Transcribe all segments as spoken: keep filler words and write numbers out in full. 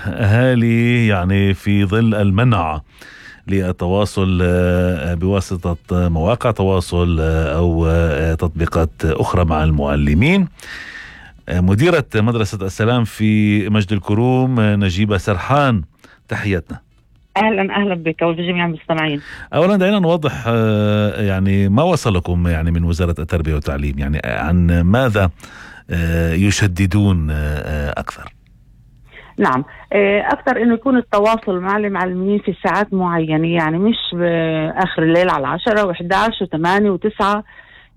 أهالي يعني في ظل المنع للتواصل بواسطة مواقع تواصل أو تطبيقات أخرى مع المعلمين. مديرة مدرسة السلام في مجد الكروم نجيبة سرحان، تحياتنا. اهلا اهلا بك وبجميع المستمعين. اولا دعينا نوضح يعني ما وصلكم يعني من وزارة التربية والتعليم، يعني عن ماذا يشددون اكثر؟ نعم، اكثر انه يكون التواصل مع المعلمين في ساعات معينة، يعني مش باخر الليل على عشرة وإحدى عشر وثمانية وتسعة.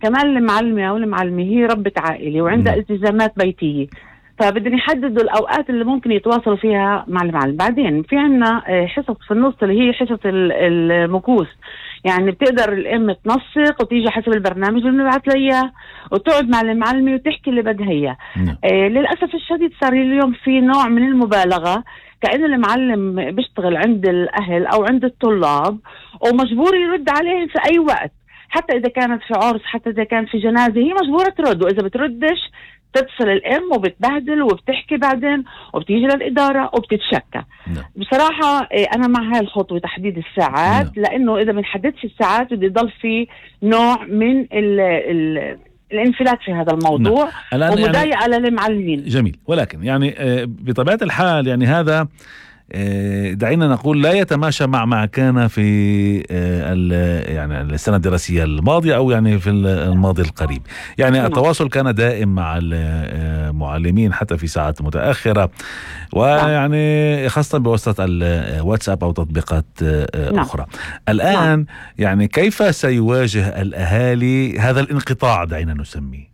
كمان المعلمة او المعلمة هي ربة عائلة وعندها التزامات بيتية، فبدنا يحددوا الأوقات اللي ممكن يتواصلوا فيها مع المعلم. بعدين في عنا حصص في النص اللي هي حصص المكوس، يعني بتقدر الأم تنسق وتيجي حسب البرنامج اللي بنبعث لها وتقعد مع المعلمة وتحكي اللي بدها إياه. آه للأسف الشديد صار اليوم في نوع من المبالغة، كأنه المعلم بيشتغل عند الأهل أو عند الطلاب ومجبور يرد عليهم في أي وقت، حتى إذا كانت في عرس، حتى إذا كان في جنازة هي مجبورة ترد، وإذا بتردش تتصل الام وبتبهدل وبتحكي بعدين وبتيجي للاداره وبتتشكى. نعم. بصراحه انا مع هاي الخطوه تحديد الساعات. نعم. لانه اذا بنحددش الساعات بده يضل في نوع من ال ال الانفلات في هذا الموضوع. نعم. ومضايقه يعني للمعلمين. جميل، ولكن يعني بطبيعه الحال يعني هذا دعينا نقول لا يتماشى مع ما كان في يعني السنة الدراسية الماضية أو يعني في الماضي القريب. يعني التواصل كان دائم مع المعلمين حتى في ساعات متأخرة، ويعني خاصة بواسطة الواتساب أو تطبيقات أخرى. الآن يعني كيف سيواجه الأهالي هذا الانقطاع دعينا نسميه؟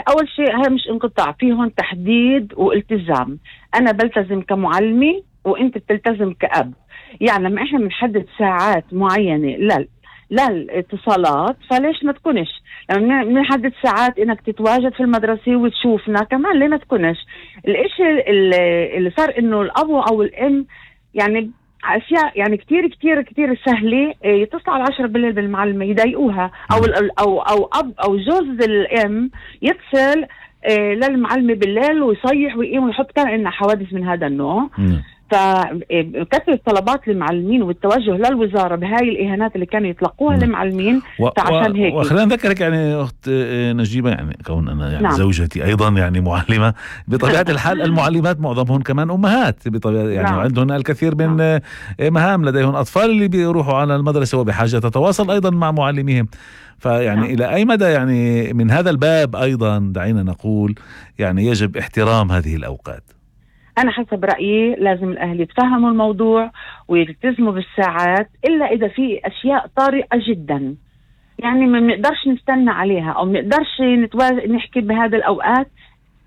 أول شيء هذا مش انقطاع، فيهم تحديد والتزام. أنا بلتزم كمعلمي وانت بتلتزم كأب. يعني لما احنا بنحدد ساعات معينة لل للاتصالات فليش ما تكونش؟ لما بنحدد ساعات انك تتواجد في المدرسة وتشوفنا كمان ليه ما تكونش؟ الاشي اللي صار انه الاب او الام يعني اشياء يعني كتير كتير كتير سهلة يتصلوا على عشرة بالليل بالمعلمة يضايقوها، او او او اب او جوز الام يتصل للمعلمة بالليل ويصيح ويقيم ويحط. كان عندنا حوادث من هذا النوع. فكثرة طلبات المعلمين والتوجه للوزارة بهاي الإهانات اللي كانوا يطلقوها للمعلمين. فعشان هيك وخلينا نذكرك يعني أخت نجيبة، يعني كون أنا يعني نعم. زوجتي أيضا يعني معلمة بطبيعة الحال. المعلمات معظمهم كمان أمهات بطبيعة يعني نعم. عندهن الكثير من نعم. مهام، لديهم أطفال اللي بيروحوا على المدرسة وبحاجة تتواصل أيضا مع معلميهم. فيعني نعم. إلى أي مدى يعني من هذا الباب أيضا دعينا نقول يعني يجب احترام هذه الأوقات؟ أنا حسب رأيي لازم الأهل يتفهموا الموضوع ويلتزموا بالساعات، إلا إذا في أشياء طارئة جدا يعني ما بنقدرش نستنى عليها أو ما بنقدرش نتواز... نحكي بهذه الأوقات،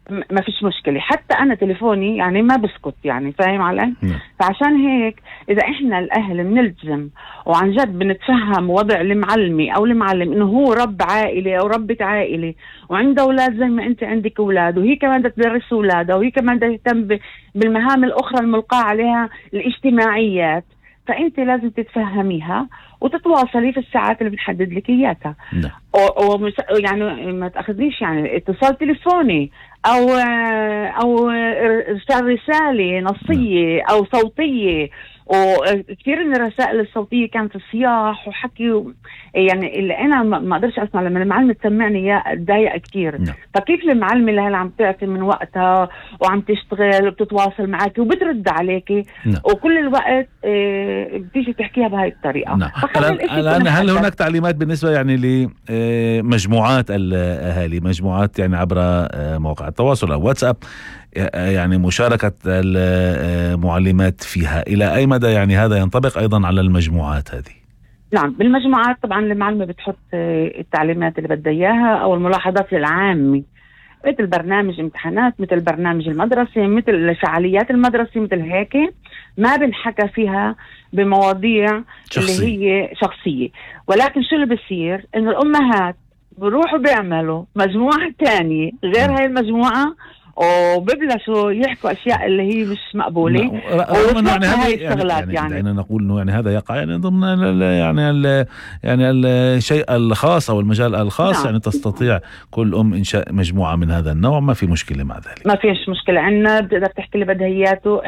ما فيش مشكلة. حتى أنا تليفوني يعني ما بسكت، يعني فاهم علي؟ م. فعشان هيك إذا إحنا الأهل بنلتزم وعن جد بنتفهم وضع المعلمي أو المعلم إنه هو رب عائلة أو ربة عائلة وعنده أولاد زي ما أنت عندك أولاد، وهي كمان بدها تدرس أولادها، وهي كمان بدها تهتم بالمهام الأخرى الملقاة عليها الاجتماعيات، فأنت لازم تتفهميها وتتواصلي في الساعات اللي بنحدد لك إياها. ومس... يعني ما تأخذنيش يعني اتصال تليفوني أو أو إرسال رسالة نصية أو صوتية، وكثير من الرسائل الصوتية كانت صياح وحكي و... يعني اللي أنا ما أقدرش أسمع لما المعلمة تسمعني إياه أتضايق كثير. نعم. فكيف المعلمة اللي هلا عم تعطي من وقتها وعم تشتغل وبتتواصل معك وبترد عليك. نعم. وكل الوقت بتيجي تحكيها بهاي الطريقة. نعم. الآن هل هناك تعليمات بالنسبة يعني لمجموعات الأهالي، مجموعات يعني عبر مواقع التواصل أو واتساب، يعني مشاركة المعلمات فيها إلى أي مدى يعني هذا ينطبق أيضا على المجموعات هذه؟ نعم، بالمجموعات طبعا المعلمة بتحط التعليمات اللي بدها إياها أو الملاحظات العامة، مثل برنامج امتحانات، مثل برنامج المدرسة، مثل فعاليات المدرسة، مثل هيك ما بنحكى فيها بمواضيع شخصية. اللي هي شخصية. ولكن شو اللي بصير إنه الأمهات بروحوا بيعملوا مجموعة تانية غير هاي المجموعة وببلشوا يحكوا أشياء اللي هي مش مقبولة. يعني هذا يعني, يعني, يعني دعينا نقول إنه يعني هذا يقع يعني ضمن ال يعني ال يعني الشيء الخاص أو المجال الخاص. نعم. يعني تستطيع كل أم إنشاء مجموعة من هذا النوع، ما في مشكلة مع ذلك. ما فيش مشكلة عنا، بتقدر تحكي اللي بدها إياته.